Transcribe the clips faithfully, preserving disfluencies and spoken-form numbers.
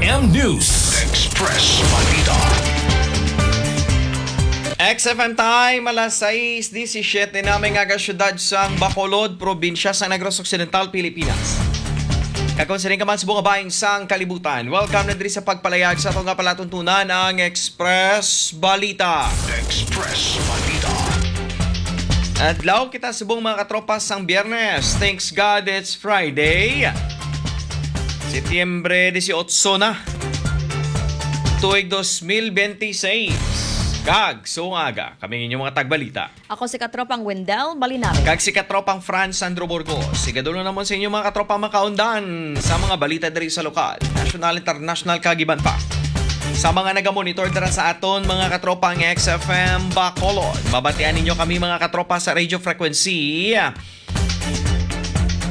M News Express Balita. X F M Time, alas sais disisiete na, may nga syudad sang Bacolod, probinsya sa Negros Occidental, Pilipinas. Kag kon sining ka man subong nga bahin sang kalibutan, welcome na diri sa pagpalayag sa ato nga palatuntunan, ang Express Balita. Express Balita. Adlaw kita subong, mga katropa, sang Biyernes. Thanks God it's Friday. Setyembre dieciocho na. Tuig dos mil bente seis. Kag, subong nga aga, kami ang inyong mga tagbalita. Ako si Katropang Wendell Balinabe. Kag si Katropang Franz Sandro Burgos. Sigadulo namon sa inyo, mga katropa, makaundan sa mga balita diri sa lokal, national, international, kag iban pa. Sa mga nagamonitor dira sa aton, mga katropa, ang X F M Bacolod, mabatian ninyo kami, mga katropa, sa radio frequency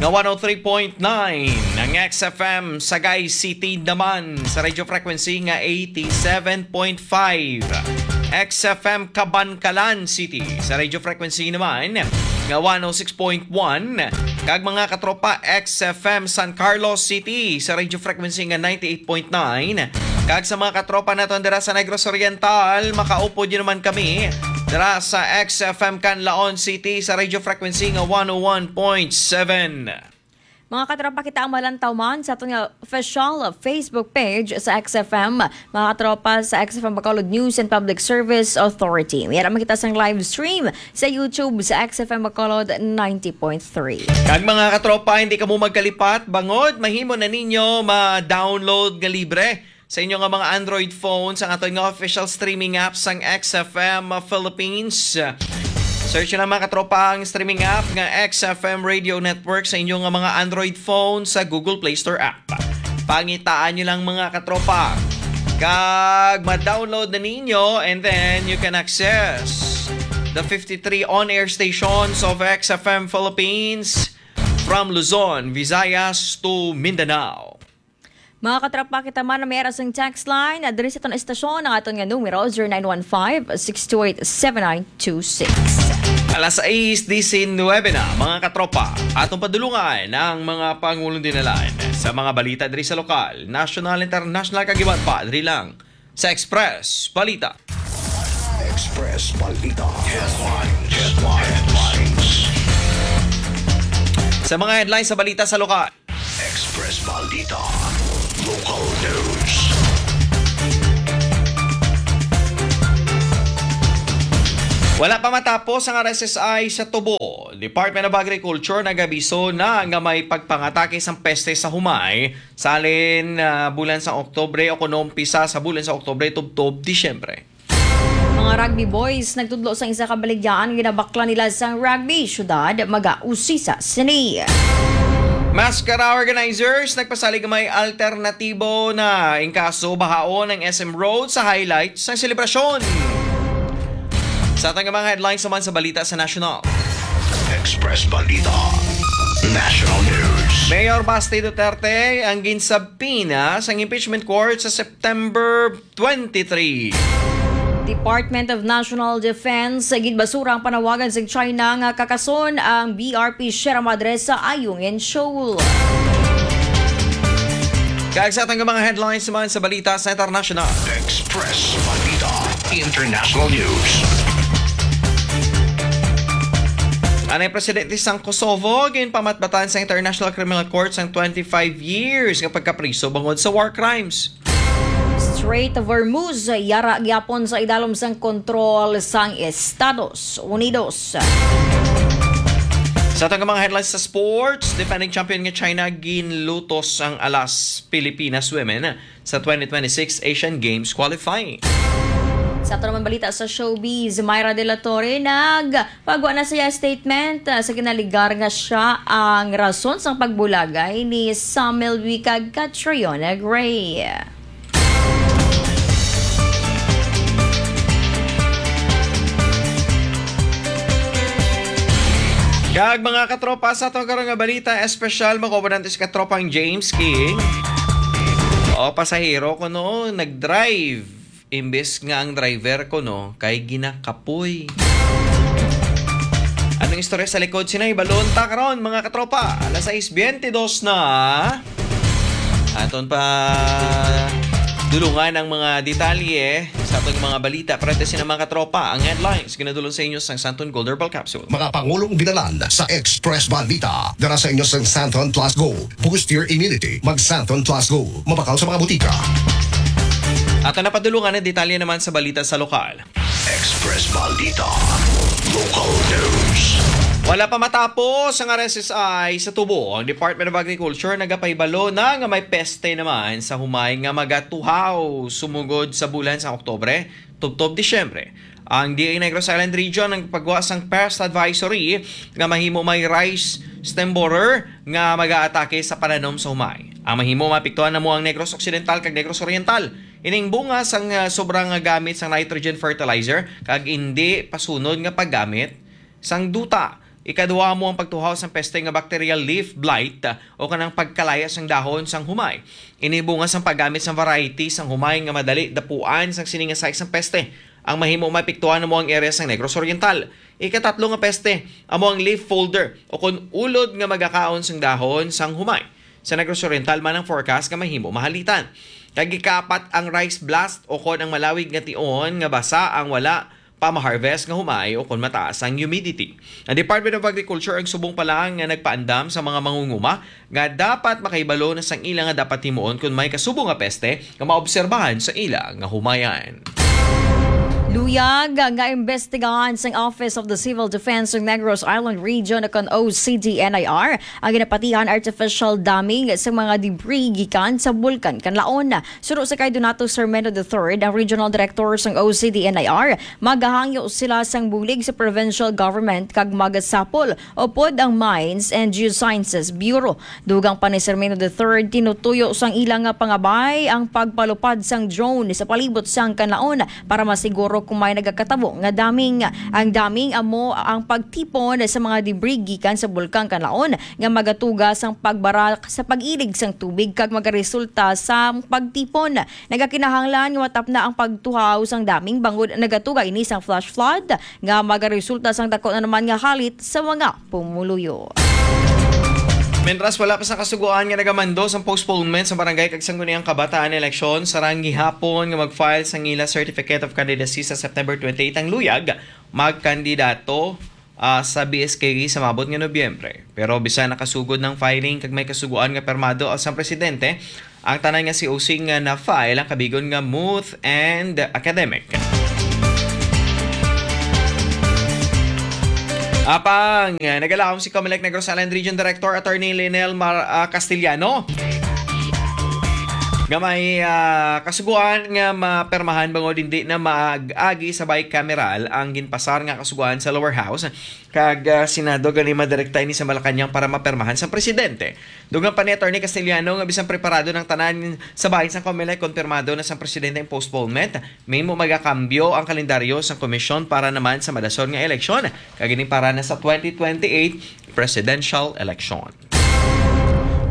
nga one oh three point nine, ang X F M Sagay City naman sa radio frequency nga eighty-seven point five, X F M Kabankalan City sa radio frequency naman nga one oh six point one, kag, mga katropa, X F M San Carlos City sa radio frequency nga ninety-eight point nine, kag sa mga katropa naton dira sa Negros Oriental, makaupod yun naman kami dira sa X F M Canlaon City sa radio frequency nga one oh one point seven. Mga katropa, kita ang malantaw man sa aton nga official Facebook page sa X F M. Mga katropa, sa X F M Bacolod News and Public Service Authority. May ara man kita sang live stream sa YouTube sa X F M Bacolod ninety point three. Kag, mga katropa, hindi kamo magkalipat, bangod mahimo na ninyo ma-download nga libre sa inyo nga mga Android phones ang aton nga official streaming app sang X F M Philippines. Search na, mga katropa, ang streaming app nga X F M Radio Network sa inyo nga mga Android phone sa Google Play Store app. Pangitaan nyo lang, mga katropa, kag ma-download na ninyo, and then you can access the fifty-three on-air stations of X F M Philippines, from Luzon, Visayas to Mindanao. Mga katropa, kita man ang may ara sang text line. Diri sa aton estasyon, ang aton nga numero, zero nine one five, six two eight, seven nine two six. Alas sais diecinuebe na, mga katropa. Atong padulungan ang mga pangulong dinalan sa mga balita diri sa lokal, national, international, kag iban pa, diri lang sa Express Balita. Express Balita. Headlines. Headlines. Sa mga headlines sa balita sa lokal. Express Balita. Local News. Wala pa matapos ang R S S I sa Tubo. Department of Agriculture nagabiso na nga may pagpangatake sang peste sa humay sa halin, ah, bulan sa Oktubre o kuno umpisa sa bulan sa Oktubre tubtob Disyembre. Mga rugby boys nagtudlo sa isa ka baligyaan nga ginabaklan nila sang rugby. Syudad, mag-ausisa sini. Maskara organizers nagpasalig nga may alternatibo na in kaso bahaon ang S M Road sa highlight sang selebrasyon. Sa aton nga mga headlines naman sa balita sa national. Express Balita. National News. Mayor Basti Duterte ang ginsabpina sang impeachment court sa September twenty-three. Department of National Defense, ginbasura ang panawagan sa China nga kakason ang B R P Sierra Madre sa Ayungin Shoal. Kag sa aton nga mga headlines man sa balita sa international. Express Balita International News. Anay Presidente sang Kosovo, ginpamatbatan sa International Criminal Court sang twenty-five years nga pagkapriso bangod sa war crimes. Strait of Hormuz, yara gyapon sa idalom sang kontrol sang Estados Unidos. Sa aton nga mga headlines sa sports, defending champion nga China ginlutos ang alas Pilipinas women sa twenty twenty-six Asian Games qualifying. Sa aton naman balita sa showbiz, Myra De La Torre nagpagwa na sa iya statement, ah, sa ginaligar nga siya ang rason sang pagbulagay ni Sam Melby kag Catriona Gray. Kag mga katropa, sa ato karon nga balita espesyal, makuha nato si katropang James King. O, pasahero kuno nag-drive, imbes nga ang driver kuno kay ginakapoy. Anong istorya sa likod sini? Hibaluon ta karon, mga katropa. Alas sais bente dos na. Aton pa Dulungan ang mga detalye sa atong mga balita. Pero ito sina, mga katropa, ang headlines ginadulong sa inyo sang Santon Gold Herbal Capsule. Mga pangulong binalan sa Express Balita. Dala sa inyo sang Santon Plus Go. Boost your immunity. Mag Santon Plus Go. Mabakal sa mga butika. At ang napadulungan ang detalye naman sa balita sa lokal. Express Balita. Local News. Wala pa matapos ang R S S I sa tubo. Ang Department of Agriculture nagapahibalo na nga may peste naman sa humay nga magatuhaw sumugod sa bulan sa Oktobre, tubtob Disyembre. Ang D A Negros Island Region ang pagwa sang pest advisory nga mahimo may rice stem borer nga mag-aatake sa pananom sa humay. Ang mahimo maapektuhan namo ang Negros Occidental kag Negros Oriental. Ining bunga sang, ah, sobra nga gamit sang nitrogen fertilizer kag indi pasunod nga paggamit sang duta. Ikaduha mo ang pagtuhaw sang peste nga bacterial leaf blight, ah, o kanang pagkalaya sang dahon sang humay. Ini bunga sang paggamit sang variety sang humay nga madali dapuan sang sini nga size sang peste. Ang mahimo maapektuhan namo ang area sang Negros Oriental. Ikatatlo nga peste amo ang leaf folder o kon ulod nga magakaon sang dahon sang humay. Sa Negros Oriental man ang forecast nga mahimo mahalitan. Kag ikaapat ang rice blast o kon ang malawig nga tion nga basa ang wala pa ma-harvest nga humay o kon mataas ang humidity. Ang Department of Agriculture ang subong pa lang nga nagpaandam sa mga mangunguma nga dapat makahibalo na sang ila nga dapat himuon kon may kasubo nga peste nga maobserbahan sa ila nga humayan. Luyag nga imbestigahan sang Office of the Civil Defense sa Negros Island Region o kon O C D N I R ang ginapatihan artificial damming sa mga debris gikan sa Bulkan Kanlaon. Suno sa kay Donato Sermeno the third, ang Regional Director sang O C D N I R, magahangyo sila sang bulig sa provincial government kag magasapol upod ang Mines and Geosciences Bureau. Dugang pa ni Sermino the third, tinutuyo sang ila nga pangabay ang pagpalupad sang drone sa palibot sang Kanlaon para masiguro kung may nagakatabo nga damming. Ang damming amo ang pagtipon sa mga debris gikan sa Bulkang Kanlaon nga magatuga sang pagbara sa pag-ilig sang tubig kag magaresulta sa pagtipon. Nagakinahanglan nga matapna ang pagtuhaw sang damming bangod nagatuga ini sang flash flood nga magaresulta sang dako na naman nga halit sa mga pumuluyo. Mentras wala pa sa kasugoan nga nagamando sang postponement sa barangay kag sangguniang kabataan eleksyon, sarang gihapon nga mag-file sang ila Certificate of Candidacy sa September twenty-eight ang luyag magkandidato, ah, sa B S K E sa maabot nga Nobyembre. Pero bisan nakasugod ng filing kag may kasugoan nga permado ang sang presidente, ang tanan nga C O C nga na-file ang kabigon nga muth and academic. Apang, ah, nagalaom si Comelec Negros Island Region Director Attorney Lionel Mar-, ah, Castellano nga may, ah, kasugoan nga mapermahan bangod hindi na maag-agi sa bicameral ang ginpasar nga kasugoan sa lower house kag, ah, Senado, gani madirekta ini sa Malacañang para mapermahan sa presidente. Dugang pa ni Attorney Castellano nga bisan preparado ng tanan sa bahin sang Comelec, konfirmado na sang presidente ang postponement, mahimo magakambyo ang kalendaryo sang komisyon para naman sa madason nga eleksyon, kag ini para na sa twenty twenty-eight presidential election.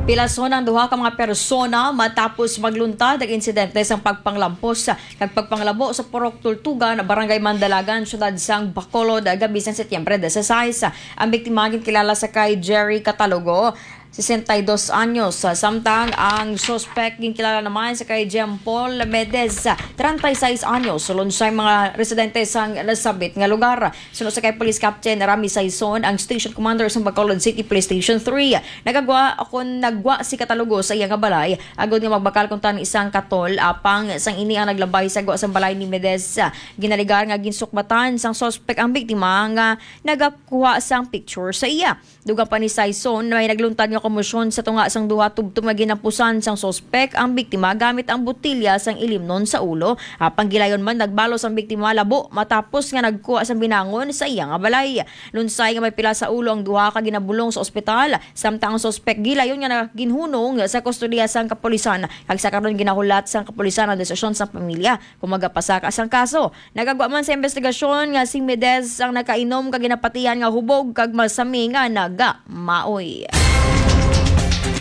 Pilason ang duha ka mga persona matapos magluntad ang insidente sang pagpanglampos kag pagpanglabo sa Purok Tultugan, Barangay Mandalagan, Siyudad sang Bacolod, gabi sang Setyembre dieciséis. Ang biktima ginkilala sa kay Jerry Catalogo, sesenta y dos anyos, samtang ang suspek ginkilala naman sa kay Jean Paul Medez, treinta y seis anyos, sulod sa mga residente sang nasabit nga lugar. Suno sa kay Police Captain Rami Saison, ang Station Commander sa Bacolod City Police Station three, nagagwa o kon nagwa si Catalogo sa iya nga balay agod nga magbakal kuntani sang katol, apang sang ini ang naglabay sa gwa sang balay ni Medez. Ginaligar nga ginsukbatan sang suspek ang biktima nga nagakuha sang picture sa iya. Dugang pa ni Saison, may nagluntad nga komosyon sa tunga sang duha tubtob nga ginapusan sang suspek ang biktima gamit ang botilya sang ilimnon sa ulo. Apang gilayon man, nagbalos ang biktima labo matapos nga nagkuha sang binangon sa iya nga balay. Lunsay nga may pila sa ulo ang duha ka ginabulong sa ospital, samtang ang suspek gilayon nga ginhunong sa kustodiya sang kapulisan, kag sa karon ginahulat sang kapulisan ang desisyon sa pamilya kung magapasaka sang kaso. Nagagwa man sa investigasyon nga si Medez ang nakainom kag ginapatihan nga hubog kag masami nga nagamaoy.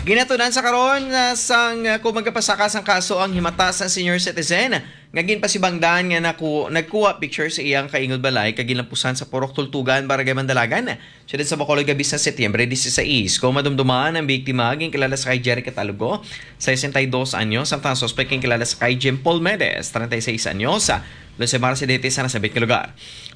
Ginatunan sa karon, ah, sang, ah, kung magapasaka sang kaso ang himata sang senior citizen nga ginpasibangdan nga naku-, nagkuha picture sa iyang kaingod balay kag ginlampusan sa Purok Tultugan, Barangay Mandalagan, siyudad sa Bacolod, gabhi sa Setyembre dieciséis. Kung madumduman, ang biktima ginkilala sa kay Jerry Catalogo, sesenta y dos anyos, samtang ang suspek ginkilala sa kay Jim Paul Medes, treinta y seis anyos, lunsay Mara Sidete, sa nasambit nga lugar.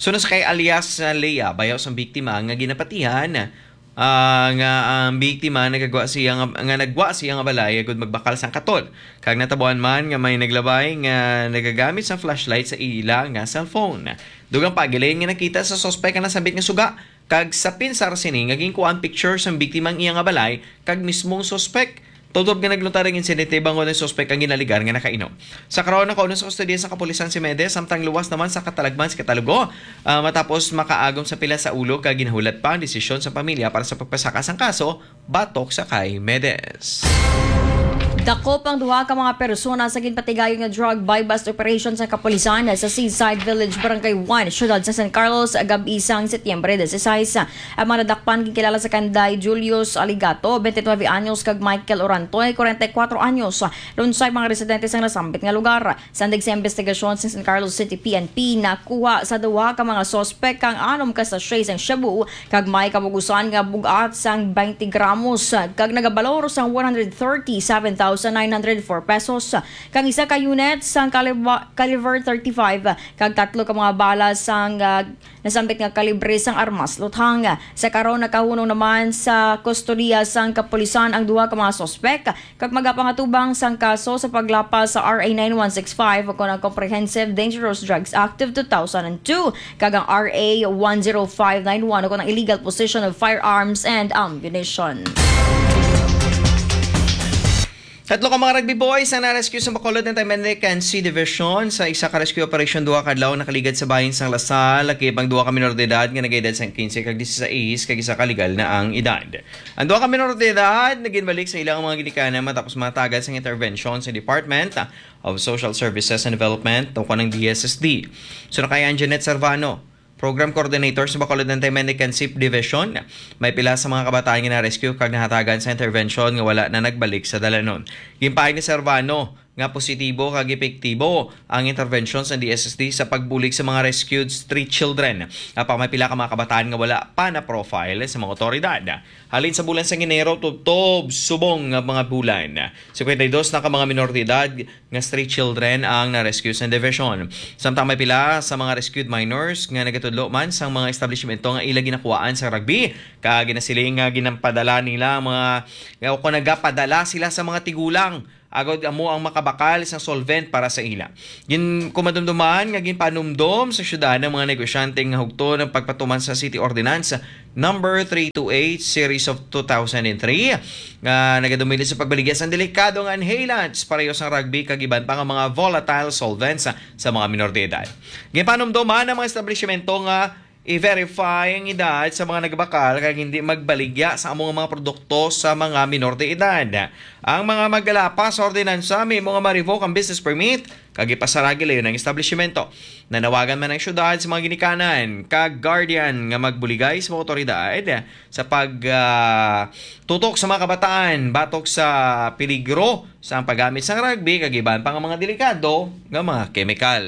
Suno sa kay alias, ah, Lea, bayaw sang biktima nga ginapatihan, ah, nga ang biktima nagagwa siya nga, nga nagwa siya nga balay agud magbakal sang katol. Kag natabuan man nga may naglabay nga nagagamit sang flashlight sa ila nga cellphone. Dugang pa, gilayon nga nakita sa suspek ang nasambit nga suga, kag sa pinsar sini nga ginkuha ang picture sang biktima ang iya nga balay kag mismong suspek. Tubtob nga naglutar ang insidente bangod ang suspek ang ginaligar nga nakainom. Sa karon, nakauno sa kustodiya sa kapulisan si Medes, samtang luwas naman sa katalagman si Catalogo, ah, matapos makaagom sa pila sa ulo, kag ginahulat pa ang desisyon sa pamilya para sa pagpasaka sang kaso batok sa kay Medes. Dakop ang duha ka mga persona sa ginpatigayon nga drug buy-bust operation sa kapulisan sa Seaside Village, Barangay One, siyudad sa San Carlos, gab-i sang Setyembre dieciséis. Ang mga nadakpan ginkilala sa kanday Julius Aligato, twenty-nine anyos, kag Michael Orantoy, forty-four anyos, lunsay mga residente sang nasambit nga lugar. Sa index sa investigasyon sa San Carlos City P N P, nakuha sa duha ka mga suspek ang anom ka sachet sang shabu kag may kabug-usan nga bug-at sang twenty gramos kag nagabalor sang one hundred thirty-seven thousand nine hundred four pesos, kag isa ka unit sang kaliba-, caliber thirty-five kag tatlo ka mga bala sang, ah, nasambit nga kalibre sang armas luthang. Sa karon, nakahunong naman sa kustodiya sang kapulisan ang duha ka mga suspek kag magapangatubang sang kaso sa paglapas sa R A nine one six five, o kon ang Comprehensive Dangerous Drugs Act of two thousand and two, kag ang R A one zero five nine one, o kon ang illegal possession of firearms and ammunition. Tatlo ka mga rugby boys ang na-rescue sa Bacolod Anti-Mendicancy Division sa isa ka rescue operation duha ka adlaw nakaligad sa bahin sang Lasal, lakip ang duha ka minor de edad nga nagaedad sang quince kag dieciséis, kag isa ka legal na ang edad. Ang duha ka minor de edad naginbalik sa ilang mga ginikanan matapos matagad sang intervention sa Department of Social Services and Development, o kon ang D S S D. Suno kay Anjanette Servano, Program Coordinator sa Bacolod Anti-Mendicancy Division, may pila sa mga kabataan nga na-rescue kag nahatagan sa intervention nga wala na nagbalik sa dalanon. Ginpahayag ni Servano nga positibo kag epektibo ang intervention sa D S S D sa pagbulig sa mga rescued street children. Apan may pila ka mga kabataan nga wala pa na-profile sa mga otoridad. Halin sa bulan sang Enero tubtob subong nga mga bulan, cincuenta y dos na ka mga minor de edad nga street children ang na-rescue sa division. Samtang may pila sa mga rescued minors nga nagatudlo man sang mga establishmento nga ila ginakuhaan sa rugby, kag ginasiling nga ginapadala nila ang mga, o kon nagapadala sila sa mga tigulang agod amo ang makabakal sang solvent para sa ila. Gin-, kumadumduman nga ginpanumdom sa syudad ang mga negosyante nga hugton ang pagpatuman sa City Ordinance Number three two eight, Series of two thousand and three, nga nagadumilis sa pagbaligya sang delikado nga inhalants, pareho sang rugby kag iban pa nga mga volatile solvents sa mga minor de edad. Ginpanumdoman ang mga establishmento nga i-verify ang edad sa mga nagbakal kag hindi magbaligya sa amo nga mga produkto sa mga minor de edad. Ang mga maggalapas sa ordinansa may mga ma-revoke ang business permit kag ipasara gilayon ang establishmento. Nanawagan man ang syudad sa mga ginikanan kag guardian nga magbuligay sa mga otoridad sa pag, ah, tutok sa mga kabataan batok sa peligro sa ang paggamit sang rugby kag iban pa nga mga delikado nga mga kemikal.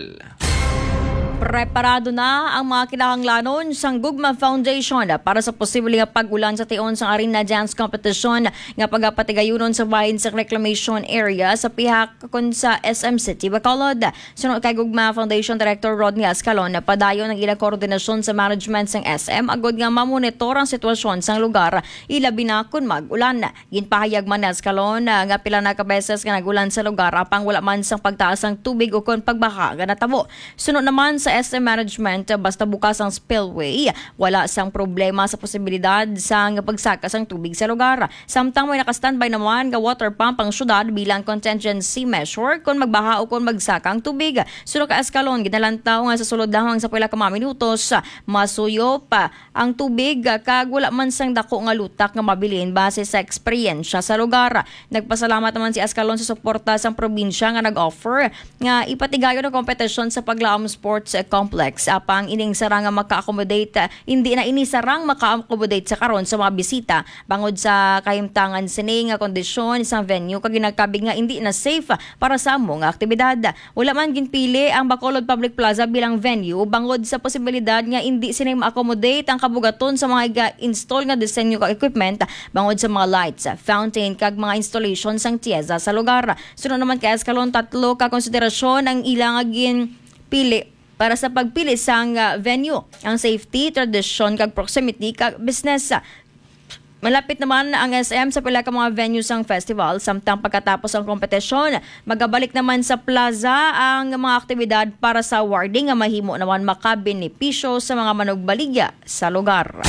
Preparado na ang mga kinahanglanon sang Gugma Foundation para sa posible nga pag-ulan sa tion sang Arena Dance Competition nga pagapatigayunon sa bahin sa Reclamation Area sa pihak kon sa S M City Bacolod. Suno kay Gugma Foundation Director Rodney Ascalon, padayon ang ila koordinasyon sa management sang S M agod nga mamonitor ang sitwasyon sang lugar, ilabi na kon mag-ulan. Ginpahayag man ni Ascalon, ah, nga pila na ka beses nga nag-ulan sa lugar, apang wala man sang pagtaas sang tubig ukon pagbaha nga natabo. Suno naman sa S M management, basta bukas ang spillway, wala sang problema sa posibilidad sang pagsaka sang tubig sa lugar. Samtang may naka-standby naman nga water pump ang syudad bilang contingency measure kon magbaha o kon magsaka ang tubig. Suno kay Ascalon, ginalantaw nga sa sulod lamang sa pila ka mga minutos, masuyop ang tubig, kag wala man sang dako nga lutak nga mabilin base sa eksperyensya sa lugar. Nagpasalamat naman si Ascalon sa suporta sang probinsya nga nag-offer nga ipatigayon ang kompetisyon sa paglaom sports Complex. Apang ining sarang nga maka-accommodate, ah, hindi na ini sarang maka-accommodate sa karon sa mga bisita bangod sa kahimtangan sini nga kondisyon sa venue, kag ginakabig nga hindi na safe para sa amo nga aktibidad. Wala man ginpili ang Bacolod Public Plaza bilang venue bangod sa posibilidad nga indi sini ma-accommodate ang kabugaton sa mga ga-install nga disenyo kag equipment bangod sa mga lights, fountain, kag mga installation sang TIEZA sa lugar. Suno naman kay Escalon, tatlo ka konsiderasyon ang ila nga ginpili para sa pagpili sang, ah, venue: ang safety, tradisyon, kag proximity kag business. Malapit naman ang S M sa pila ka mga venue sang festival, samtang pagkatapos ang kompetisyon, magabalik naman sa plaza ang mga aktibidad para sa awarding nga mahimo naman makabenepisyo sa mga manugbaligya sa lugar.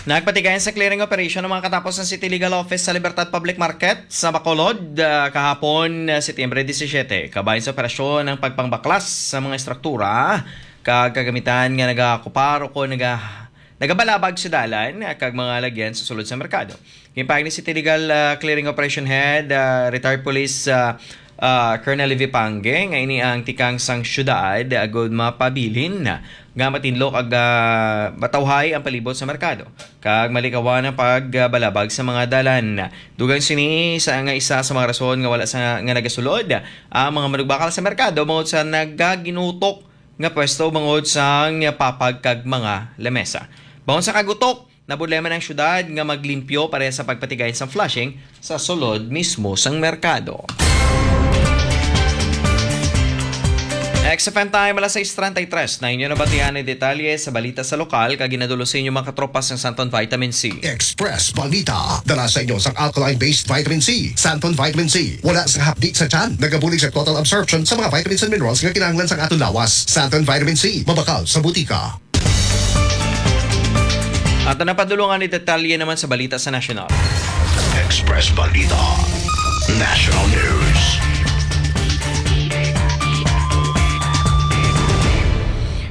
Nagpatigayon sa clearing operation ang mga katapos ng City Legal Office sa Libertad Public Market sa Bacolod, ah, kahapon, ah, Setyembre disisiete. Kabahin sa operasyon ang pagpangbaklas sa mga estruktura kag kagamitan nga nagaokupar o kon naga-, nagabalabag sa dalan, ah, kag mga lagyan sa sulod sa merkado. Ginpahayag ni City Legal, ah, Clearing Operation Head, ah, Retired Police, ah, ah, Colonel Levi Pange, nga ini ang tikang sang syudad, agud mapabilin nga matinlo kag, ah, matawhay ang palibot sa merkado kag malikawan ang pagbalabag sa mga dalan. Dugang sini sa, nga isa sa mga rason nga wala sa, nga nagasulod ang mga manugbakal sa merkado bangod sa nagaginutok nga pwesto bangod sang papag kag mga lamesa. Bangod sa kagutok, nabudlay man ang syudad nga maglimpyo pareha sa pagpatigay sa flushing sa sulod mismo sang merkado. X F M Time, alas sais treinta y tres. Na inyo nabatian ang detalye sa balita sa lokal kag ginadul-ong sa inyo mga katropa sang Santon Vitamin C. Express Balita. Dala sa inyo sang alkaline-based vitamin C, Santon Vitamin C. Wala sang hapdi sa tiyan. Nagabulig sa total absorption sa mga vitamins and minerals nga kinahanglan sang aton lawas. Santon Vitamin C. Mabakal sa butika. At ang napadulungan ni detalye naman sa balita sa nasyonal. Express Balita. National News.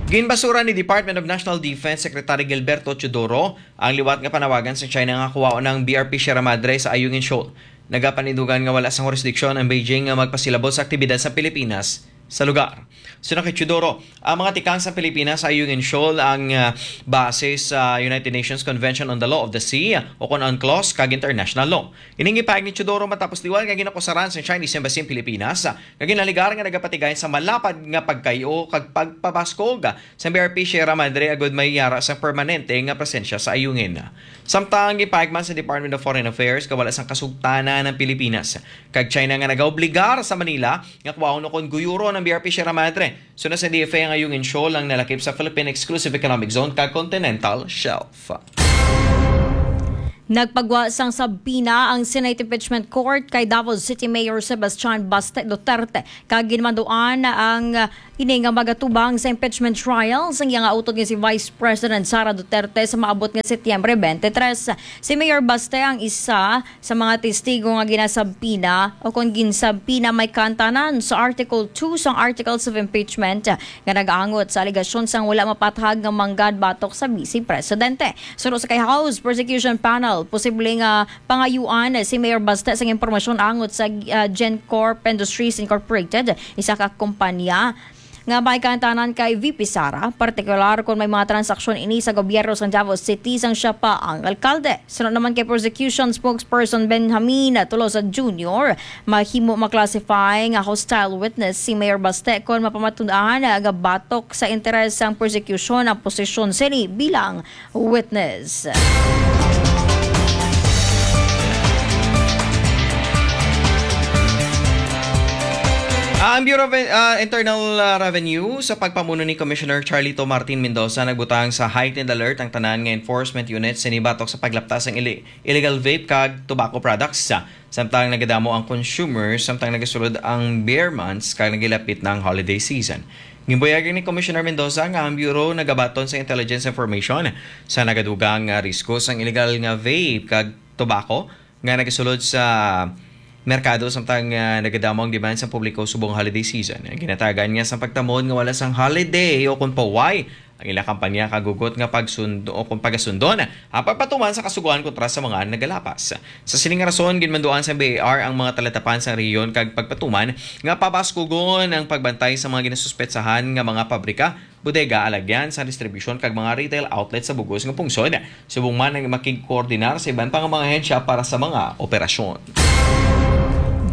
Ginbasura ni Department of National Defense Secretary Gilberto Teodoro ang liwat nga panawagan sa China nga kuhaon ang B R P Sierra Madre sa Ayungin Shoal. Nagapanindugan nga wala sang jurisdiction ang Beijing nga magpasilabot sa aktibidad sa Pilipinas sa lugar. Suno kay Teodoro, ang mga tikang sa Pilipinas sa Ayungin Shoal ang, ah, base sa United Nations Convention on the Law of the Sea o kon UNCLOS kag international law. Ining ipahayag ni Teodoro matapos liwat nga ginakusaran sa Chinese Embassy ang Pilipinas, ah, nga ginaligar nga nagapatigay sa malapad nga pagkayo kag pagpabaskog sa B R P Sierra Madre agud may yara sa permanente nga presensya sa Ayungin. Samtang gipahayag man sa Department of Foreign Affairs nga wala sang kasugtanan ang Pilipinas kag China nga nagaobligar sa Manila nga kuhaon o kon guyuron ang B R P Sierra Madre. Suno sa D F A, ang Ayungin Shoal ang nalakip sa Philippine Exclusive Economic Zone kag Continental Shelf. Nagpagwa sang subpoena ang Senate Impeachment Court kay Davao City Mayor Sebastian Baste Duterte, kag ginmanduan ang, ah, ini nga magatubang sa impeachment trial sang iya nga utod nga si Vice President Sara Duterte sa maabot nga Setyembre twenty-three. Si Mayor Baste ang isa sa mga testigo nga ginasabpina o kon ginsabpina may kaantanan sa Article two sang Articles of Impeachment nga nagaangot sa alegasyon sang wala mapathag nga manggad batok sa Vice Presidente. Suno sa kay House Prosecution Panel, posible nga pangayuan si Mayor Baste sang impormasyon angot sa, ah, GenCorp Industries Incorporated, isa ka kompanya nga may kaantanan kay V P Sara, partikular kon may mga transaksyon ini sa gobyerno sa Davao City sang siya pa ang alkalde. Suno naman kay prosecution spokesperson Benjamin Tolosa Junior, mahimo ma-classify nga hostile witness si Mayor Baste kon mapamatud-an nga batok sa interes sang prosecution ang posisyon sini bilang witness. Ang Bureau of, ah, Internal, ah, Revenue, sa pagpamuno ni Commissioner Charlito Martin Mendoza, nagbutang sa heightened alert ang tanan nga enforcement units sini batok sa paglapta sang ili-, illegal vape kag tobacco products. Samtang nagadamo ang consumer, samtang nagasulod ang beer months kag nagilapit na ang holiday season. Ginbuyagan ni Commissioner Mendoza nga ang Bureau nagabaton sa intelligence information sa nagadugang nga risko sang illegal nga vape kag tobacco nga nagasulod sa merkado, samtang, ah, nagadamo ang demand sa publiko subong holiday season. Ang ginatagan niya sa pagtamon nga wala sang holiday o kung paway ang ila kampanya kag hugot nga pagsundo o kung pagasundon ang pagpatuman sa kasugoan kontra sa mga nagalapas. Sa sining rason, ginmanduan sa B A R ang mga talatapan sa rehiyon kag pagpatuman nga pabaskugon ang pagbantay sa mga ginasuspetsahan nga mga pabrika, bodega, alagyan sa distribusyon kag mga retail outlet sa bugos nga pungsod, subong man ang makigkoordinar sa iban pa nga mga ahensya para sa mga operasyon.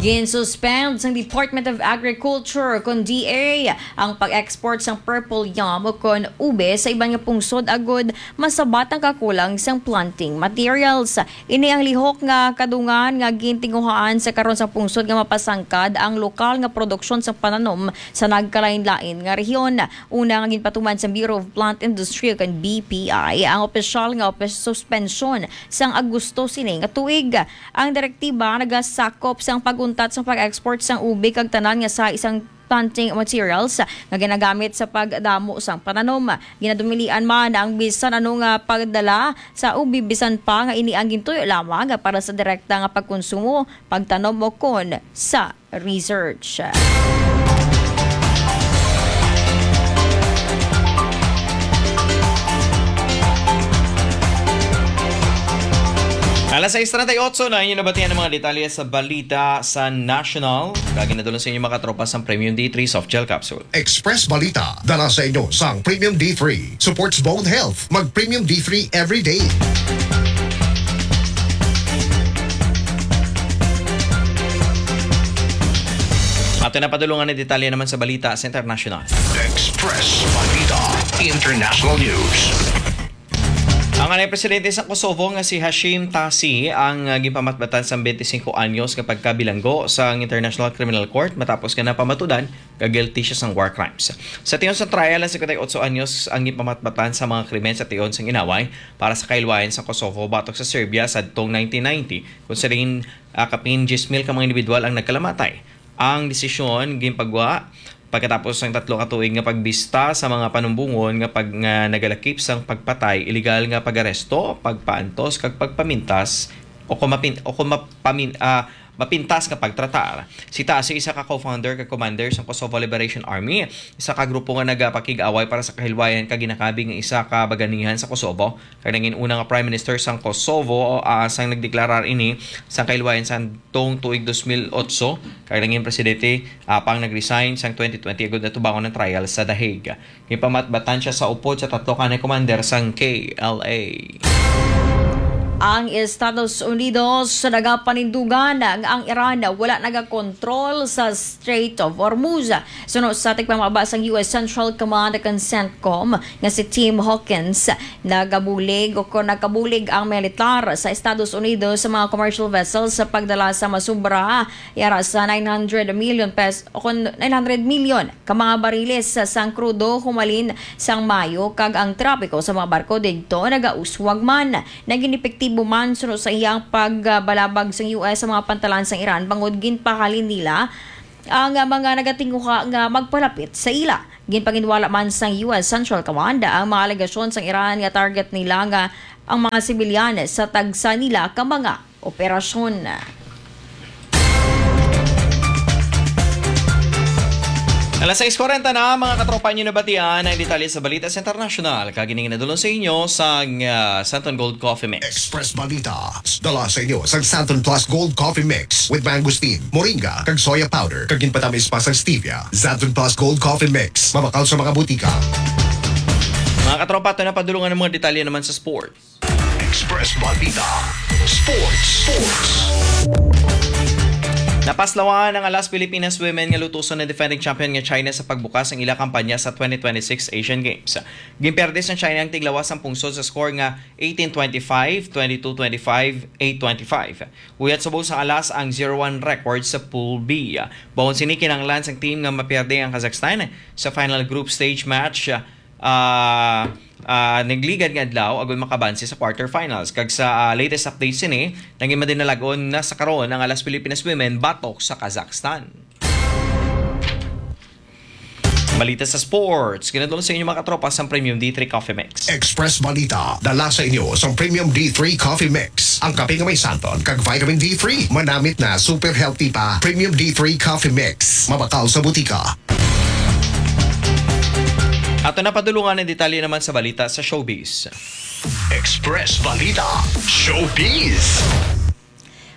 Ginsuspend sang Department of Agriculture, kon D A, ang pag-export sang purple yam o kon ube sa iban nga pungsod agud masabat ang kakulang sang planting materials. Ini ang lihok nga kadungan nga gintinguhaan sa karon sang pungsod nga mapasangkad ang lokal nga produksyon sang pananom sa nagkalain-lain nga rehiyon. Una nga ginpatuman sa Bureau of Plant Industry o kan B P I ang opisyal nga opis-, suspensyon sang Agosto sini nga tuig. Ang direktiba nagasakop sang pag-untat sang pag-export sang ube kag tanan nga sa isang planting materials nga ginagamit sa pagdamo sang pananom. Ginadumilian man ang bisan ano nga pagdala sa ube, bisan pa nga ini ang gintuyo lamang para sa direkta nga pagkonsumo, pagtanom o kon sa research. Alas sais treinta y ocho na, inyo nabatian ang mga detalye sa balita sa national. Kag ginadulong sa inyo, mga katropa, sang Premium D three Soft Gel Capsule. Express Balita, dala sa inyo sang Premium D three. Supports bone health. Mag Premium D three every day. Ato na padulungan ang detalye naman sa balita sa international. Express Balita International News. Ang anay presidente sa Kosovo nga si Hashim Thaci ang, ah, ginpamatbatan sang twenty-five anyos nga pagkabilanggo sa International Criminal Court matapos nga napamatudan nga guilty siya sang war crimes. Sa tion sa trial, ang fifty-eight anyos ang ginpamatbatan sa mga krimen sa tion sang inaway para sa kahilwayan sa Kosovo batok sa Serbia sa tong nineteen ninety, kung sa diin, ah, kapin diyes mil ka mga individual ang nagkalamatay. Ang desisyon ginpagwa pagkatapos sang tatlo ka tuig nga pagbista sa mga panumbongon nga pag-, nga nagalakip sang pagpatay, iligal nga pag-aresto, pagpaantos, kag pagpamintas o kung mapin-, o kung mapamin-, ah, mapintas nga pagtratar. Si Thaci isa ka co-founder kag commander sang Kosovo Liberation Army, isa ka grupo nga nagapakig-away para sa kahilwayan kag ginakabi nga isa ka baganihan sa Kosovo, kag nangin una nga Prime Minister sang Kosovo, ah, sang nagdeklarar ini sang kahilwayan sang tong tuig dos mil otso, kag nangin presidente, ah, apang nag-resign sang twenty twenty agud atubangon ang trial sa The Hague. Ginpamatbatan siya sa upod sa tatlo ka anay commander sang K L A. Ang Estados Unidos nagapanindugan nga ang Iran wala nagakontrol sa Strait of Hormuz. Suno sa tigpamaba sang U S Central Command o kon CENTCOM nga si Tim Hawkins, nagabulig o kon nagkabulig ang militar sa Estados Unidos sa mga commercial vessels sa pagdala sa masubra yara sa nine hundred million pes-, o kon nine hundred million ka mga bariles sang krudo humalin sang Mayo, kag ang trapiko sa mga barko didto nagauswag man. Naging epektibo man suno sa iyang pagbalabag sang U S sa mga pantalan sang Iran bangod ginpahalin nila ang mga nagatinguha nga magpalapit sa ila. Ginpanginwala man sang U S Central Command ang mga alegasyon sang Iran nga target nila nga ang mga sibilyan sa tagsa nila ka mga operasyon. Alas sais kwarenta na, mga katropa, inyo nabatian ang detalye sa balita sa international. Kag ini ginadulong sa inyo sang, ah, Santon Gold Coffee Mix. Express Balita, dala sa inyo sang Santon Plus Gold Coffee Mix with mangosteen, moringa, kag soya powder, kag ginpatamis pa sang stevia. Santon Plus Gold Coffee Mix, mabakal sa mga butika. Mga katropa, ato na padulungan ang mga detalye naman sa sport. Express Balita Sports. Sports. Napaslawan ang Alas Pilipinas Women nga lutuson ang defending champion nga China sa pagbukas sang ila kampanya sa twenty twenty-six Asian Games. Ginperde sang China ang tiglawas sang pungsod sa score nga eighteen twenty-five, twenty-two twenty-five, eight twenty-five. Huyat subong sang Alas ang zero one record sa Pool B. Bangod sini, kinahanglan sang team nga maperde ang Kazakhstan sa final group stage match, ah, ah, nagligad nga adlaw agud makabanse sa quarterfinals. Kag sa, ah, latest updates sini, naging madinalag-on na sa karon ang Alas Pilipinas Women batok sa Kazakhstan. Balita sa sports, ginadulong sa inyo, mga katropa, sang Premium D three Coffee Mix. Express Balita, dala sa inyo sang Premium D three Coffee Mix. Ang kape nga may santon kag vitamin D three, manamit na, super healthy pa. Premium D three Coffee Mix, mabakal sa butika. Ato na padulungan ang detalye naman sa balita sa showbiz. Express Balita Showbiz.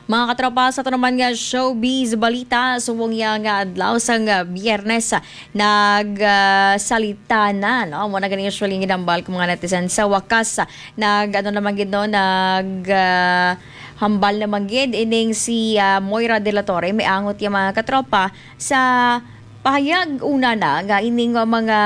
Mga katropa, sa ito naman nga showbiz balita, subong ya nga adlaw sang, ah, Biyernes, ah, nag, ah, salita na, no? Amo na gani usually ginambal ko mga netizen. Sa wakas, ah, nag, ano naman gid, no? Nag, ah, hambal naman gid ining si, ah, Moira de la Torre. May angot ya, mga katropa, sa pahayag una na nga ining, ah, mga,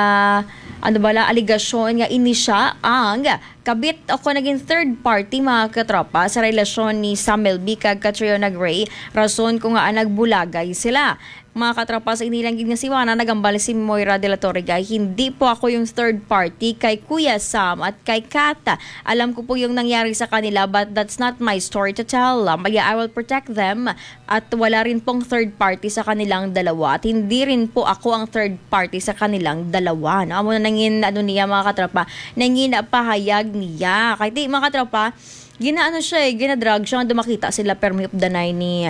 ano bala, alegasyon nga ini siya ang kabit o kon naging third party, mga katropa, sa relasyon ni Sam Melby kag Catriona Gray, rason kung ngaa nagbulagay sila. Mga katropa, sa inilang gid nga siwara, nagambal si Moira de la Torre, "Guy, hindi po ako yung third party kay Kuya Sam at kay Kat. Alam ko po yung nangyari sa kanila, but that's not my story to tell. Um, yeah, I will protect them at wala rin pong third party sa kanilang dalawa at hindi rin po ako ang third party sa kanilang dalawa." No? Amo na nangin, ano niya, mga katropa, nangin pahayag niya. Kay di, mga katropa, ginaano siya eh, ginadrag siya nga dumakita sila permi updanay ni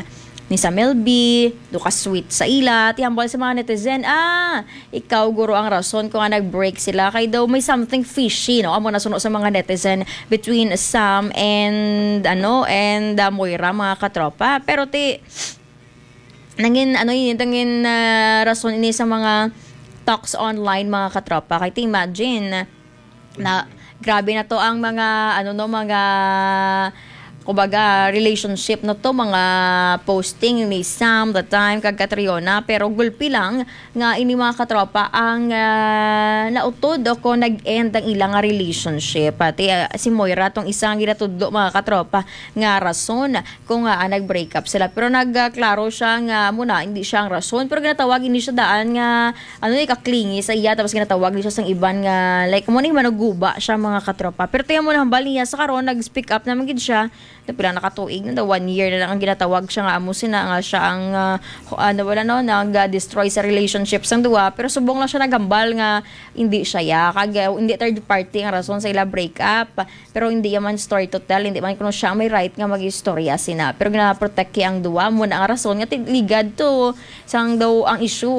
ni Sam Melby, do ka sweet sa ila, tihambal sa mga netizen, ah, ikaw guro ang rason kung nga nag-break sila, kay daw may something fishy, no? Amo na suno sa mga netizen between Sam and, ano, and, ah, Moira, mga katropa. Pero ti, nangin, ano yun, nangin, ah, rason ini sa mga talks online, mga katropa. Kay ti imagine, na grabe na to ang mga, ano, no, mga, kumbaga, relationship na to, mga posting ni Sam the time kag Catriona, pero gulpi lang nga ini, mga katropa, ang, ah, nautod o kon nag-end ang ilang nga relationship. Pati, ah, si Moira tong isa nga ginatudlo, mga katropa, nga rason kung, ah, nag-break up sila. Pero nagklaro siya nga muna hindi siya ang rason, pero ginatawag ini siya daan nga ano, eh, kaklingi sa iya, tapos ginatawag ni siya sang iban nga, like, mo ni manuguba siya, mga katropa. Pero tiyan mo na, hambal niya sa karon, nag-speak up naman gid siya. Na pila na ka tuig na daw, one year na lang ang ginatawag siya nga amo sina nga siya ang, ah, ho-, ano, wala, no, nag-destroy sa relationship sang duwa. Pero subong lang siya naghambal nga hindi siya ya, kag, ah, hindi third party ang rason sa ila break up. Pero hindi man story to tell, hindi man kuno siya ang may right nga mag-istorya sina. Pero gina-protect ang duwa mo na ang rason nga ti-, ligad to. Sang daw ang issue,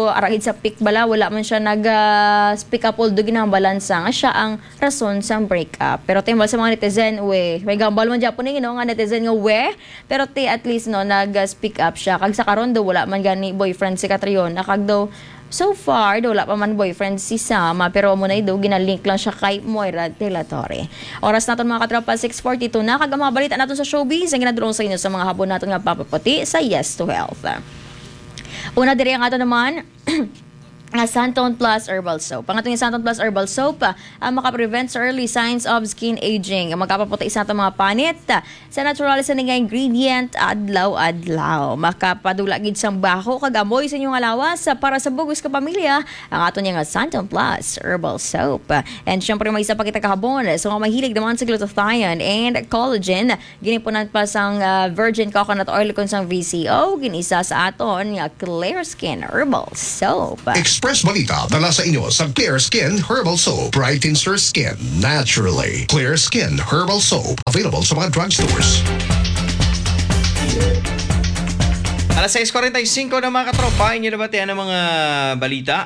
ara gid sa pic bala, wala man siya nag, ah, speak up, although ginahambalan sa nga siya ang rason sang break up. Pero timbal sa mga netizen, we, may gambal man dyan po ninyo, no, nga netizen nga, we, pero ti at least, no, nag, ah, speak up siya. Kag sa karon daw, wala man gani boyfriend si Catriona. Kag daw, so far, daw wala pa man boyfriend si Sama, pero amo na daw, ginalink lang siya kay Moira de la Torre. Oras naton, mga katropa, six forty-two na, kag ang mga balita naton sa showbiz ang ginadulong sa inyo sa mga hapon naton nga papaputi sa Yes to Health. Una diri ang ato naman nga Santon Plus Herbal Soap. Ang ato nga Santon Plus Herbal Soap, ah, ang makaprevent sa early signs of skin aging. Ang makapaputi sa ato mga panit, ah, sa natural sa nga ingredient, adlaw-adlaw. Makapadula gid sang baho kag amoy sa inyong lawas, ah, para sa bug-os ka pamilya, ang ato niya nga Santon Plus Herbal Soap. And syempre, may isa pa kita kahabon sa mga mahilig naman sa glutathione and collagen. Ginipunan pa sang, ah, virgin coconut oil kon sang V C O, ginisa sa aton nga Clear Skin Herbal Soap. Express Balita dala sa inyo sa Clear Skin Herbal Soap. Brightens your skin naturally. Clear Skin Herbal Soap. Available sa mga drugstores. Alas sais kuwarenta y singko na, mga katropa, inyo nabatian ang mga balita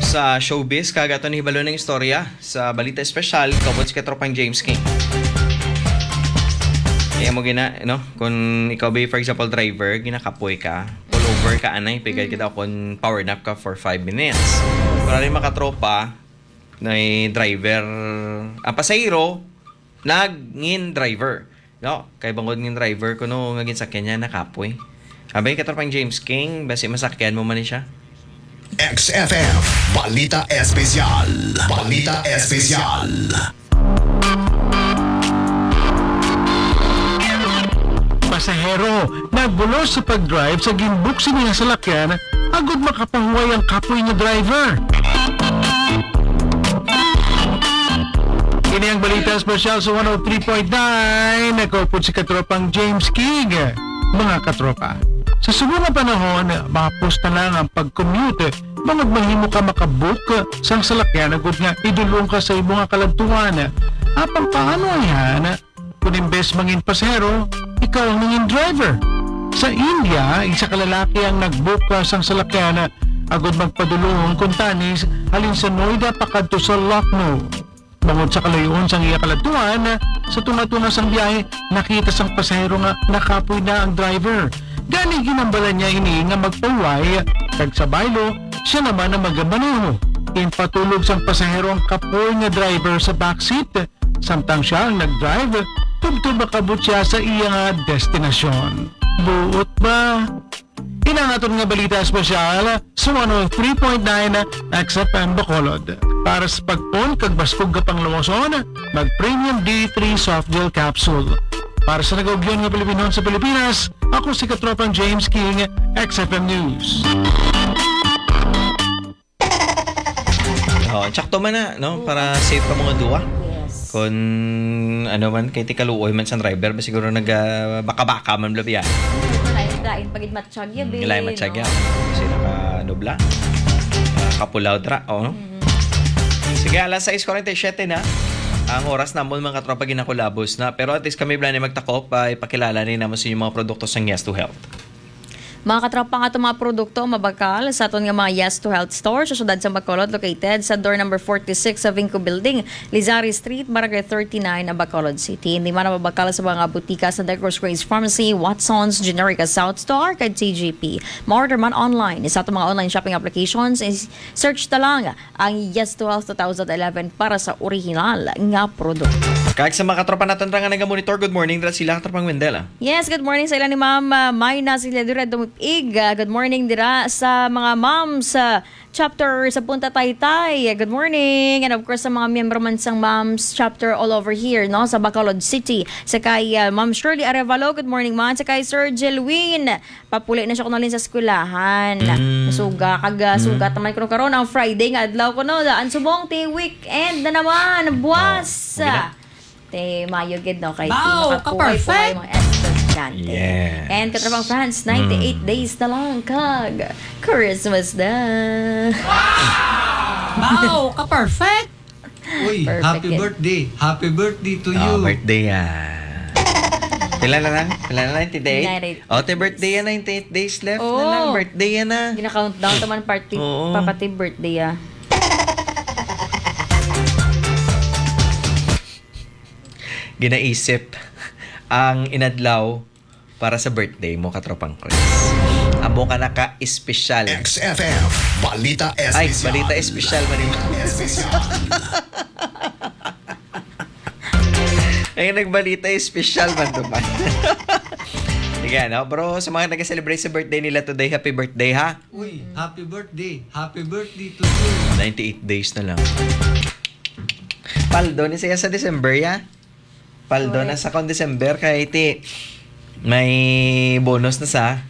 sa showbiz. Kag aton hibalo ng istorya sa balita espesyal, kaupod si Katropang James King. Kaya mo gina, no? Kung ikaw ba, for example, driver, ginakapoy ka, pull over ka, anay, pigay kita kung power nap ka for five minutes. Para rin makatropa, na driver, ang pasahero, nagngin driver. No? Kay bangod ngin driver ko, no, nga ginsakyan niya, nakapoy. Abay, Katropang James King, basi masakyan mo man ni siya. X F M, Balita Espesyal. Balita Espesyal. Pasahero, nagbulos sa pag-drive sa ginbuksi niya salakyan agud makapahuway ang kapoy nga driver. Kini ang balita espesyal sa one oh three point nine. Nakaupod si Katropang James King. Mga katropa, sa subong nga panahon, mahapos na lang ang pag-commute bangod mahimo ka makabook sang salakyan agud nga idulong ka sa imo nga kaladtuan. Apang paano yan kung imbes mangin pasahero, ikaw ang nangin driver? Sa India, isa ka lalaki ang nag-book, ah, sang salakyan agod magpadulong kuntani halin sa Noida pakadto sa Lucknow. Bangod sa kalayo-on sang iya kaladtuan, sa tunga-tunga sang biyahe, nakita sang pasahero nga nakapoy na ang driver. Gani, ginhambalan niya ini nga magpahuway, kag sa baylo, sia naman ang magamaneho. Ginpatulog sang pasahero ang kapoy nga driver sa backseat, samtang sia ang nag-drive, tubtob makabot sia sa iya nga destinasyon. Buot ba? Ini ang aton nga balita espesyal sa one oh three point nine X F M Bacolod. Para sa pagpon kag baskog nga panglawason, mag Premium D three Soft Gel Capsule. Para sa nagaugyon nga Pilipinhon sa Pilipinas, ako si Katropang James King, X F M News. Oh, tsakto man na, no? Para safe ka mga duwa. Yes. Kung ano man, kay tikaluoy man sang driver, ba siguro nag, ah, baka-baka man, bla, biya. Lain, lain pag matsyag ya, Mm, be, lain matsyag no? Ya. Kasi naka-ano, bla? Ah, kapulaw, tra, oh, no? Mm. Sige, alas sais kuwarenta y siyete na. Ang oras namon, mga katropa, ginakulabos na. Pero at least kami, bla, ni magtakop, pa ipakilala ni namo sa inyong mga produkto sang Yes to Health. Mga katropa, ang aton mga produkto mabakal sa aton nga mga Yes to Health store sa siyudad sa Bacolod, located sa door number forty-six sa Vinco Building, Lizari Street, Barangay thirty-nine, Bacolod City. Hindi man mabakal sa mga butika sa Negros Grace Pharmacy, Watson's, Generica South Star, kag T G P. Ma-order man online sa aton mga online shopping applications. Is-, search ta lang ang Yes to Health two thousand eleven para sa original nga produkto. Kag sa mga katropa naton ra nga naga-monitor, good morning, dira sila, Katropang Wendell, ah. Yes, good morning sa ila ni Ma'am, ah, Mayna Silladura Dumipig. Ah, good morning dira sa mga moms, ah, chapter sa Punta Taytay. Good morning. And of course, sa mga miyembro man sang moms chapter all over here, no, sa Bacolod City. Sa kay, ah, Ma'am Shirley Arevalo, good morning, ma'am. Sa kay Sir Jelwin, papuli na siya kunalin sa eskwelahan. Mm. Suga, kag, ah, Mm. sugat naman kuno karon ang Friday nga adlaw kuno. Daan subong, ti weekend na naman. Buwas. Oh, okay na. Te, mayo gid, no? Kay Bao, ti makapuhay-puhay ka-perfect. Mga estudyante. Yes. And Katropang Franz, ninety-eight Mm. days na lang kag Christmas na. Bao, ka-perfect. Uy, Perfect happy yun. Birthday. Happy birthday to Oh, you. Birthday, ah. Pila na lang? Pila na lang? Ninety-eight? Ninety-eight Oh, te, birthday days. Yan. Ninety-eight days left na Oo. lang. Birthday yan, ah. Gina-countdown naman party, Oo. Papa T birthday, ah. Ginaisip ang inadlaw para sa birthday mo, Katropang Chris. Amo ka na ka-espesyal. X F M, balita Ay, espesyal. Balita espesyal man yun. Espesyal. Ay, nagbalita espesyal man to man. Sige, no? Bro, sa mga nag-celebrate sa birthday nila today, happy birthday, ha? Uy, happy birthday. Happy birthday to you. Ninety-eight days na lang. Paldo ni siya sa December, ya? Paldo na Correct. Sa kon December, kay ti may bonus na sa,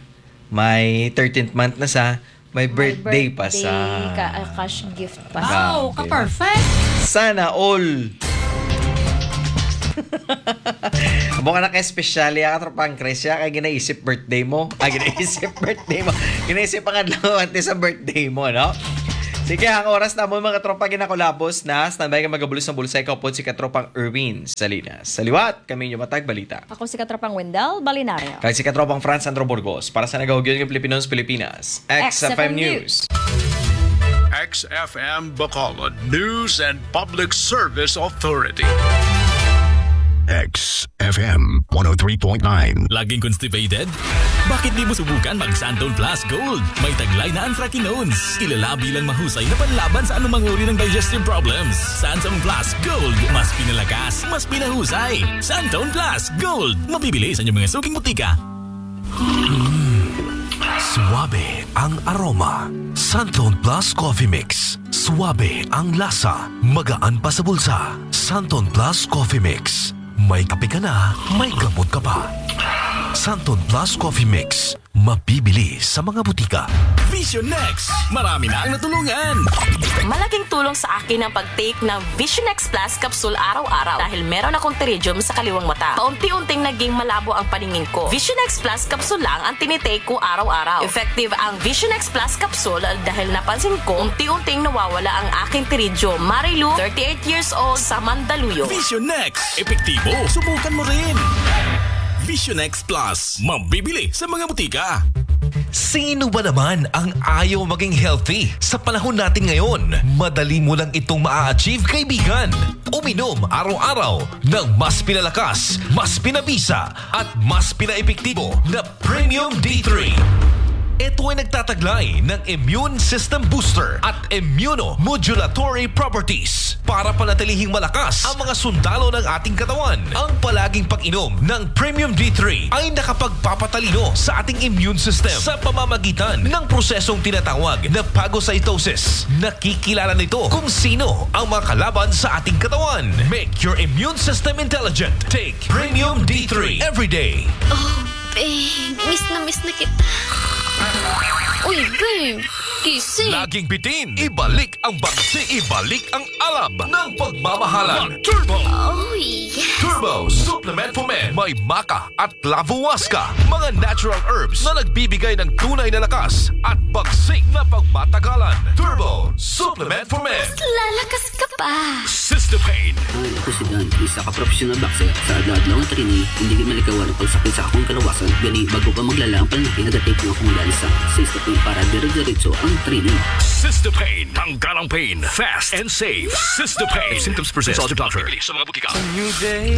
may thirteenth month na sa, may May birthday pa birthday sa ka-, ah, cash gift pa sa. Wow, Grabe. Ka-perfect! Sana all! Amo ka na ka-espesyal, ya, Katropang Chris, ya, kay ginaisip birthday mo. Ah, ginaisip birthday mo. Ginaisip ang adlaw antes sa birthday mo, no? Sige, ang oras na mo, mga tropa, ginakulabos na. Standby ka magabulos ng bulsa, ikaw po si Katropang Erwin Salinas. Sa liwat, kami inyo matag balita. Ako si Katropang Wendell Balinario. Kag si Katropang Franz Sandro Burgos. Para sa nagahugyon ng Pilipinos, Pilipinas. X F M News. X F M Bacolod News and Public Service Authority. X F M one oh three point nine. Laging constipated? Bakit di mo subukan mag Santon Plus Gold? May taglay na ang Fraquinones. Kilala bilang mahusay na panlaban sa anumang uri ng digestive problems. Santon Plus Gold. Mas pinalakas, mas pinahusay. Santon Plus Gold. Mabibili sa inyong mga suking butika. Mm. Suabe ang aroma. Santon Plus Coffee Mix. Suabe ang lasa. Magaan pa sa bulsa. Santon Plus Coffee Mix. May kape ka na, may gamot ka pa. Santon Plus Coffee Mix. Mabibili sa mga butika. Vision X. Marami na ang natulungan. Malaking tulong sa akin ang pag-take ng Vision X Plus capsule araw-araw dahil meron akong pterygium sa kaliwang mata. Paunti-unting naging malabo ang paningin ko. Vision X Plus capsule lang ang tinitake ko araw-araw. Effective ang Vision X Plus capsule dahil napansin ko unti-unting nawawala ang aking pterygium. Marilu, thirty-eight years old, sa Mandaluyong. Vision X. Epektibo. Subukan mo rin. Vision X Plus. Mabibili sa mga butika. Sino ba naman ang ayaw maging healthy? Sa panahon natin ngayon, madali mo lang itong maa-achieve, kaibigan. Uminom araw-araw ng mas pinalakas, mas pinabisa, at mas pinaepektibo na Premium D three. Ito ay nagtataglay ng immune system booster at immunomodulatory properties para panatilihing malakas ang mga sundalo ng ating katawan. Ang palaging pag-inom ng Premium D three ay nakapagpapatalino sa ating immune system sa pamamagitan ng prosesong tinatawag na phagocytosis. Nakikilala nito kung sino ang mga kalaban sa ating katawan. Make your immune system intelligent. Take Premium D three every day. Oh, babe. Miss na miss na kita. Uy, babe. Gising. Laging bitin. Ibalik ang bagsi, ibalik ang alab ng pagmamahalan. Turbo! Oh, yes. Turbo Supplement for Men. May maca at lavuasca, mga natural herbs na nagbibigay ng tunay na lakas at bagsik na pagmatagalan. Turbo Supplement for Men. Lalakas ka pa. Sister Pain. Hi, ako si Dan, isa ka professional boxer. Sa adlaw-adlaw nga training, hindi gyud malikawan ang pagsakit sa akong kalawasan. Gani, bago pa maglala ang pananakit, nag-take na akong Lansa. Sa step para dire-diretso ang training. Sister Pain. Tanggal ang pain. Fast and safe. Sister Pain. If symptoms persist, consult your doctor. Bibili sa mga butika.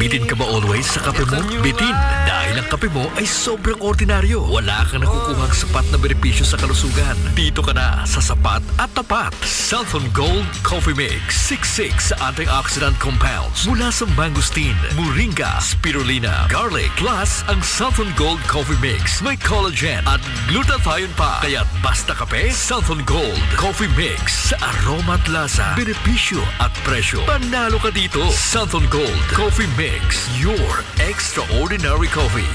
Bitin ka ba always sa kape mo? Bitin. Dahil ang kape mo ay sobrang ordinaryo. Wala kang nakukuhang sapat na benepisyo sa kalusugan. Dito ka na sa sapat at tapat. Santhon Gold Coffee Mix. Siksik sa antioxidant compounds mula sa mangosteen, moringa, spirulina, garlic. Plus, ang Santhon Gold Coffee Mix may collagen at glutathione pa. Kaya basta kape, Santhon Gold Coffee Mix. Sa aroma at lasa, benepisyo at presyo, panalo ka dito. Santhon Gold Coffee Mix, your extraordinary coffee.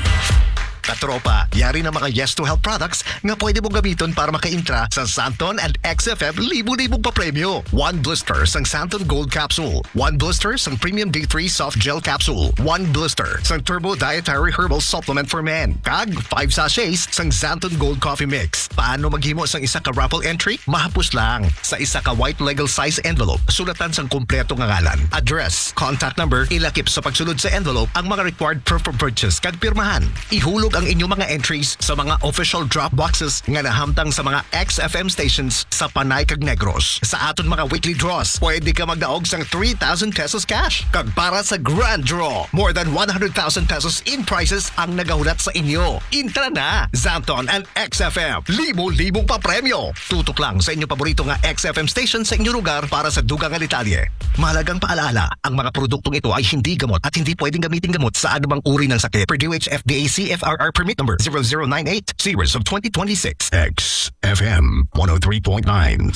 Katropa, yari na mga Yes to Health products nga pwede mong gamiton para makaintra sa Santon and X F M libo-libong papremyo. One blister sang Santon Gold Capsule, one blister sang Premium D three Soft Gel Capsule, one blister sang Turbo Dietary Herbal Supplement for Men, kag five sachets sang Santon Gold Coffee Mix. Paano maghimo sang isa ka raffle entry? Mahapos lang. Sa isa ka white legal size envelope, sulatan sang kompleto nga ngalan, address, contact number, ilakip sa pagsulod sa envelope ang mga required proof of purchase kag pirmahan. Ihulog ang inyong mga entries sa mga official drop boxes nga nahamtang sa mga X F M stations sa Panay kag Negros. Sa aton mga weekly draws, pwede ka magdaog sang three thousand pesos cash. Kag para sa grand draw, more than one hundred thousand pesos in prizes ang nagahulat sa inyo. Intra na! Santon and X F M, libo-libong papremyo! Tutok lang sa inyong paborito nga X F M station sa inyong lugar para sa dugang nga detalye. Mahalagang paalaala, ang mga produktong ito ay hindi gamot at hindi pwedeng gamitin gamot sa anumang uri ng sakit. Per D O H F D A C F R R Permit Number zero zero nine eight, Series of twenty twenty-six. X F M one oh three point nine.